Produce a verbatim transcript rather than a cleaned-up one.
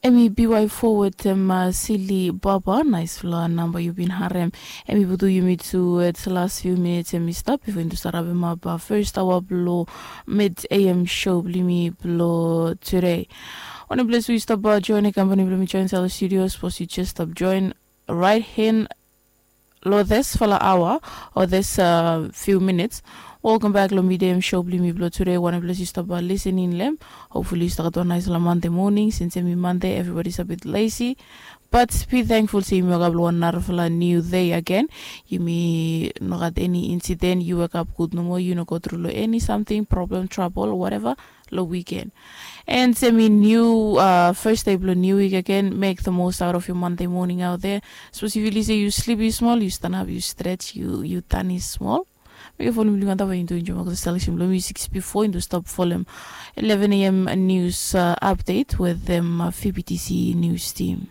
Em i B Y four wetem uh, Sili Baba, naisfala namba yu bin harem. Em i putu yumi tu at last few minutes em i stap before indu start up em up uh, first hour blo mid A M show blo yumi blo today. One place we stop uh, join a company blo mi join Salo Studios, suppose you just stop join right hand lo this fala hour or this uh, few minutes. Welcome back lo midem show blo yumi blo today. One place you stop uh, listening lem. Hopefully you start on nice la Monday morning since em i Monday, everybody's a bit lazy. But be thankful se yumi wake up lo one narafala new day again. Yumi no gat any incident, you wake up good no more, you no go through lo any something, problem, trouble, whatever, lo weekend. And se mi new uh, first day blo new week again, make the most out of your Monday morning out there. Suppose if you listen, you sleepy small, you stand up, you stretch, you you tani small. Make a follow me linganda for into enjoy the selection blo music before into stop follow eleven a.m. news uh, update with them uh, F B T C news team.